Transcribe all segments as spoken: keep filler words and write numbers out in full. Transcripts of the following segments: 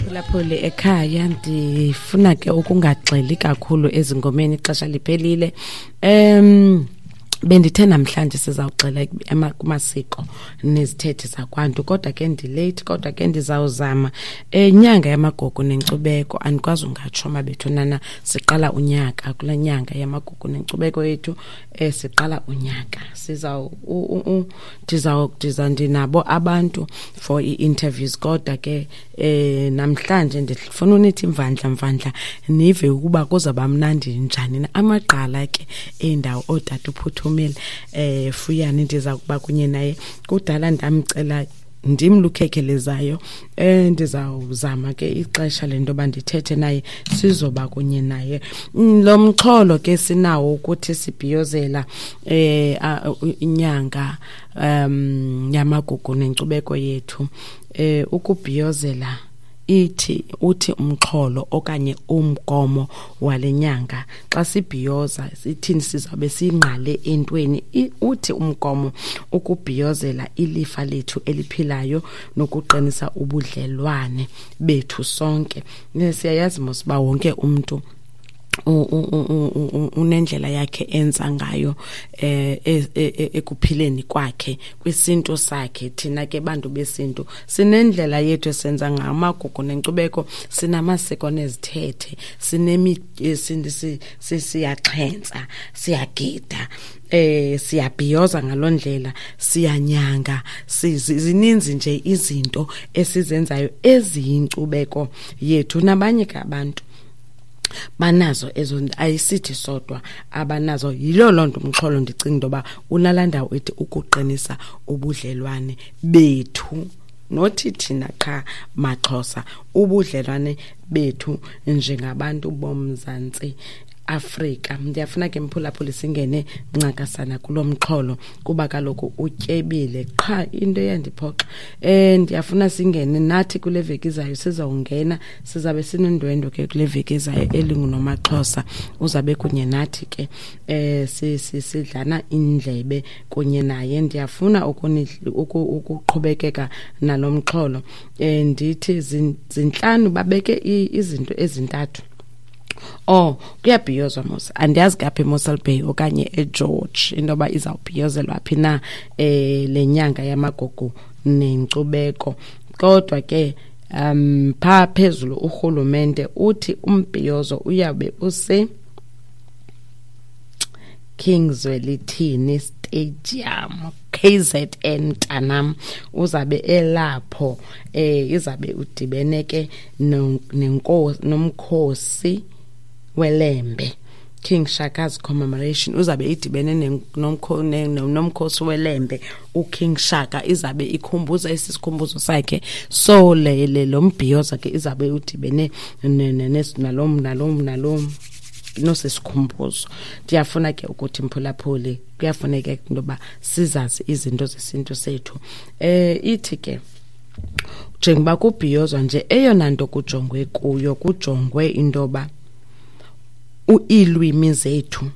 Mphulaphuli ekhaya, ndifuna ke ukungagxili kakhulu ezingomeni, ixesha liphelile. um Bendithe namhlanje sizawugxila kumasiko nezithethe zakwantu, kodwa ke ndi-late, kodwa ke ndizawuzama. Inyanga yamagugu nenkcubeko, andikwazi ungatsho mabethunana, siqala unyaka kule nyanga yamagugu nenkcubeko yethu. um Siqala unyaka, sizaw ndiza ndinabo abantu for ii-interviews, kodwa ke um namhlanje ndifuna unithi mvandla mvandla nive ukuba kuzawuba mnandi njani na. Amagqala ke eendawo, ootata uPhuthumile eh Fuyani, ndiza kuba kunye naye. Kudala ndamcela, ndim lukhekhelezayo. eh ndizawuzama ke ixesha lento yoba ndithethe naye, sizoba kunye naye. Lo mxholo ke sinawo ukuthi sibhiyozela eh inyanga um yamagugu nenkcubeko yethu. eh Ukubhiyozela ithi uthi umxholo okanye umgomo wale nyanga, xa sibhiyoza sithini, sizabe singqale entweni. Uthi umgomo ukubhiyozela ilifa lethu eliphilayo nokuqinisa ubudlelwane bethu sonke. Siyayazi mos uba wonke umntu unendlela yakhe enza ngayo eh ekuphileni kwakhe kwisintu sakhe. Thina ke bantu besintu sinendlela yethu esenza ngayo amagugu nenkcubeko, sinamasiko nezithethe, sinemi siyaxhentsa, siyagida, eh siyabhiyoza ngalondlela, siyanyanga, zininzi nje izinto esizenzayo eziyinkcubeko yethu. Nabanye ke abantu banazo ezo, ayisithi sodwa abanazo. Yilo loo nto umxholo ndicinga into yoba unalaa ndawo ethi ukuqinisa ubudlelwane bethu, nothi thina qha maXhosa, ubudlelwane bethu njengabantu boMzantsi Afrika. Ndiyafuna ke mphulaphuli singene ncakasana kulo mxholo kuba kaloku utyebile, qha into eyandiphoxa. eh ndiyafuna singene nathi kule veki izayo, sizawungena, sizabe sinendwendwe ke kule veki izayo elinguNomaXhosa, uzabe kunye nathi ke, eh sidlana indlebe kunye naye. Ndiyafuna ukuqhubekeka nalo mxholo. eh ndithi zintlanu, babeke izinto ezintathu. Oh, kuyabhiyozwa mos, andiyazi kaphi, eMossel Bay okanye eGeorge, into yoba izawubhiyozelwa phi na eh le nyanga yamagugu nenkcubeko. Kodwa ke um phaa phezulu urhulumente uthi umbhiyozo uyabe use King Zwelithini Stadium, K Z N mntanam, uzabe elapho. eh izabe udibene ke nenkosi nomkhosi weLembe, King Shaka's commemoration, uzabe idibene nomkhosi weLembe, uKing Shaka, izabe ikhumbuza esisikhumbuzo sakhe. So le lo mbhiyozo ke izabe udibene nalo nalo nalo nosisikhumbuzo. Ndiyafuna ke ukuthi mphulaphuli, kuyafuneka into yoba sizazi izinto zesintu sethu. eh ithi ke njengoba kubhiyozwa nje, eyona nto kujongwe kuyo, kujongwe into yoba iilwimi zethu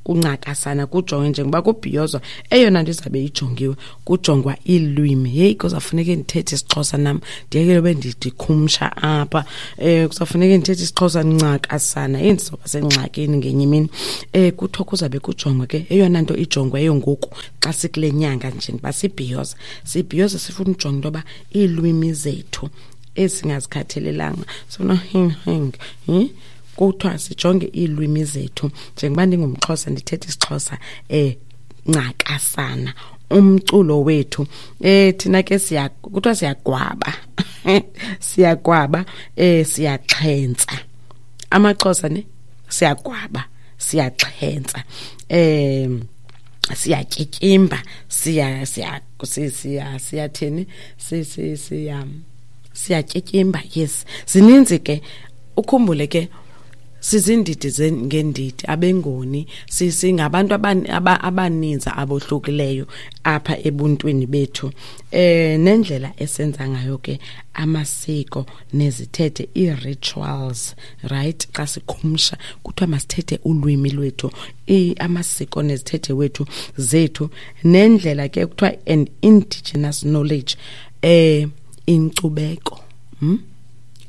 kuncakasana, kujongwe njengoba kubhiyozwa, eyona nto izabe ijongiwe, kujongwa iilwimi. Heyi, kuzawufuneke ndithethe isiXhosa nam, ndiyekele ube ndikhumsha apha. um kuzawufuneke ndithethe isiXhosa ncakasana. Heyi, ndizawuba sengxakini ngenye imini. um Kuthiwa kuzabe kujongwe ke, eyona nto ijongweyo ngoku xa sikule nyanga njengoba sibhiyoza, sibhiyoza sifuna ujonga into yoba iilwimi zethu esingazikhathalelanga sona hing hing. Kuthiwa sijonge iilwimi zethu. Njengoba ndingumXhosa, ndithetha isiXhosa eh ncakasana. Umculo wethu, eh thina ke siya kuthiwa siyagwaba, siyagwaba, eh siyaxhentsa amaXhosa ne, siyagwaba, siyaxhentsa, eh siyatyityimba, siya siya siya siyathini, si si siya siyatyityimba. Yes, zininzi ke. Ukhumbule ke sizindidi ngeendidi, abeNgoni, singabantu abaninzi abohlukileyo apha ebuntwini bethu. eh nendlela esenza ngayo ke amasiko nezithethe, ii-rituals, right? Xa sikhumsha kuthiwa masithethe ulwimi lwethu, amasiko nezithethe wethu zethu, nendlela ke kuthiwa an indigenous knowledge, eh inkcubeko, hm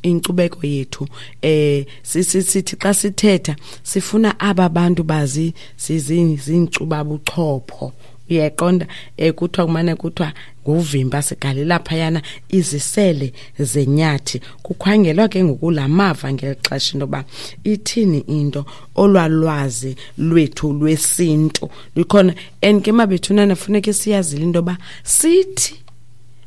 inkcubeko yethu. Eh sithi xa sithetha sifuna aba bantu bazi zinkcuba buchopho, uyaqonda? Eh kuthiwa kumane kuthiwa nguvimba sigalela phayana izisele zenyathi. Kukhangelwa ke ngoku lamava ngeli xesha into yoba ithini into olwalwazi lwethu lwesintu likhona. And ke mabethunana funeke siyazile into yoba sithi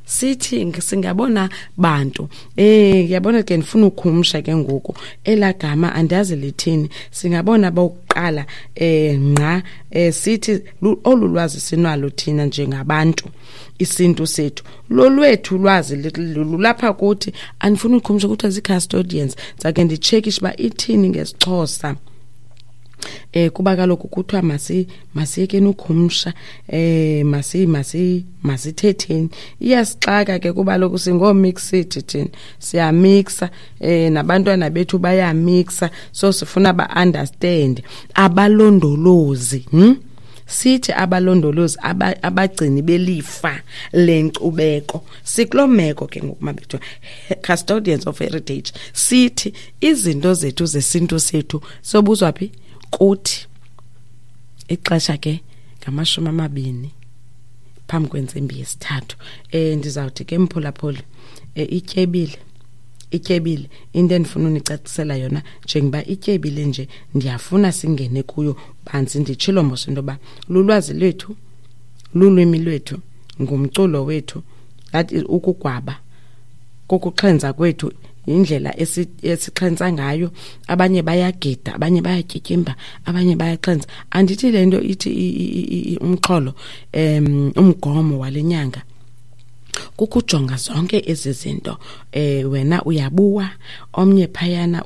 sithi singabona bantu eh ngiyabona ke ndifuna ukhumsha ke ngoku elagama andazi lithini, singabona bokuqala eh ngqa eh sithi olulwazi sinalo thina njengabantu, isintu sethu lolwethu lwazi lulapha kuthi. Andifuna ukhumsha ukuthi zi custodians zake ndicheckishe ba ithini ngesiXhosa. Eh kuba kaloku kuthiwa masi masiyekeni ukhumsha, eh masi masi masithetheni. Iyasixaka ke kuba lokhu singomix thina, siyamixa eh nabantwana bethu bayamixa, so sifuna ba understand abalondolozi. Hm sithi abalondolozi abagcini belifa lenkcubeko. Sikulomeko ke ngoku mabethu, custodians of heritage. Sithi izinto zethu zesintu sethu sobuzwa phi? Kuthi. Ixesha ke ngamashumi amabini phambi kwentsimbi yesithathu. Eh ndizawuthi ke mphulaphuli, eh ityebile ityebile into endifuna unicacisela yona njengoba ityebile nje, ndiyafuna singene kuyo banzi. Nditshilo mos into yoba lulwazi lwethu, lulwimi lwethu, ngumculo wethu, that is ukugwaba kokuxhenza kwethu, indlela esixhenza ngayo. Abanye bayagida, abanye bayatyityimba, abanye bayaxhenza. Andithi le nto ithi umxholo um umgomo walenyanga kukujonga zonke ezi zinto. Eh wena uyabuwa, omnye phayana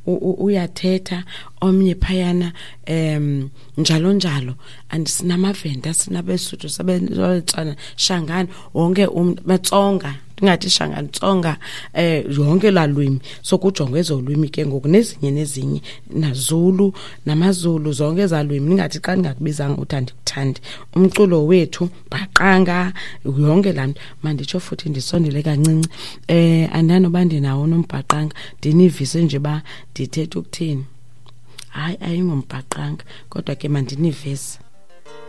uyathetha, omnye phayana em njalo njalo. Andisinamavenda, sinabesuthu, sabetswana, Shangani, wonke umuntu Matsonga, ndingathi Shangani, Tsonga, eh yonke lalwimi. So kujongwe ezolwimi ke ngoku nezinye nezinye, naZulu namaZulu, zonke ezalwimi. Ningathi xa ndingakubizanga uthi andikuthandi. Umculo wethu bhaqanga, yonke laa nto. Manditsho futhi ndisondele kancinci, eh andanoba ndinawo nombhaqanga, ndinivise nje ba ndithetha ukuthini. Hayi, ayingombhaqanga kodwa ke mandinivise.